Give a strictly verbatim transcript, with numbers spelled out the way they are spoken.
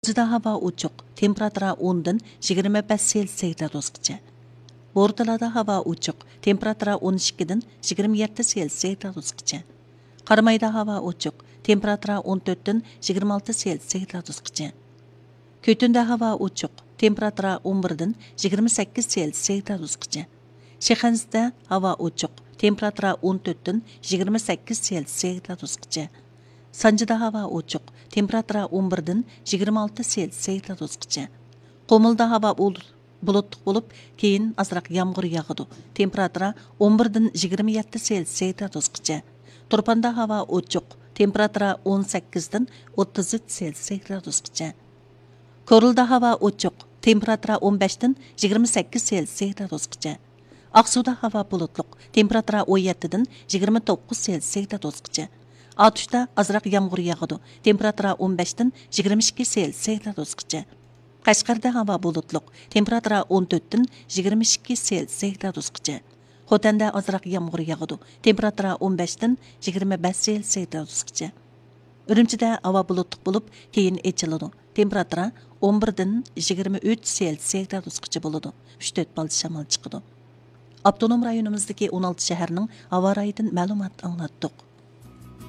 غۇلجىدا ھاۋا ئوچۇق، تېمپېراتۇرا ئوندىن يىگىرمە بەش سېلسىيە گرادۇسقىچە. بورتالادا ھاۋا ئوچۇق، تېمپېراتۇرا ئون ئىككىدىن يىگىرمە يەتتە سېلسىيە گرادۇسقىچە. قارامايدا ھاۋا ئوچۇق، تېمپېراتۇرا ئون تۆتتىن يىگىرمە ئالتە سېلسىيە گرادۇسقىچە. كۆتۈندە ھاۋا ئوچۇق، تېمپېراتۇرا ئون بىردىن يىگىرمە سەككىز سېلسىيە گرادۇسقىچە. شىخەنزىدە ھاۋا ئوچۇق، تېمپېراتۇرا ئون تۆتتىن يىگىرمە سەككىز سېلسىيە گرادۇسقىچە. سانجىدا ھاۋا ئوچۇق، تېمپېراتۇرا ئون بىردىن يىگىرمە ئالتە سېلسىيە گرادۇسقىچە. قۇمۇلدا ھاۋا بۇل-، بۇلۇتلۇق بولۇپ، كېيىن ئازراق يامغۇر ياغىدۇ. تېمپېراتۇرا ئون بىردىن يىگىرمە يەتتە سېلسىيە گرادۇسقىچە. تۇرپاندا ھاۋا ئوچۇق، تېمپېراتۇرا ئون سەككىزدىن ئوتتۇز ئۈچ سېلسىيە گرادۇسقىچە. كورلىدا ھاۋا ئوچۇق، تېمپېراتۇرا ئون بەشتىن يىگىرمە سەككىز سېلسىيە گرادۇسقىچە. ئاقسۇدا ھاۋا بۇلۇتلۇق، تېمپېراتۇرا ئون يەتتىدىن يىگىرمە توققۇز سېلسىيە گرادۇسقىچە. ئاتۇشتا ئازراق يامغۇر ياغىدۇ، تېمپېراتۇرا ئون بەشتىن يىگىرمە ئىككى سېلسىيە گرادۇسقىچە. قەشقەردە ھاۋا بۇلۇتلۇق، تېمپېراتۇرا ئون تۆتتىن يىگىرمە ئىككى سېلسىيە گرادۇسقىچە. خوتەندە ئازراق يامغۇر ياغىدۇ، تېمپېراتۇرا ئون بەشتىن يىگىرمە بەش سېلسىيە گرادۇسقىچە. ئۈرۈمچىدە ھاۋا بۇلۇتلۇق بولۇپ، كېيىن ئېچىلىدۇ. تېمپېراتۇرا ئون بىردىن يىگىرمە ئۈچ سېلسىيە گرادۇسقىچە بولىدۇ. ئۈچ تۆت پالچە شامال چىقىدۇ. ئاپتونوم رايونىمىزدىكى ئون ئالتە شەھەرنىڭ ھاۋا رايىدىن مەلۇمات ئاڭلاتتۇق.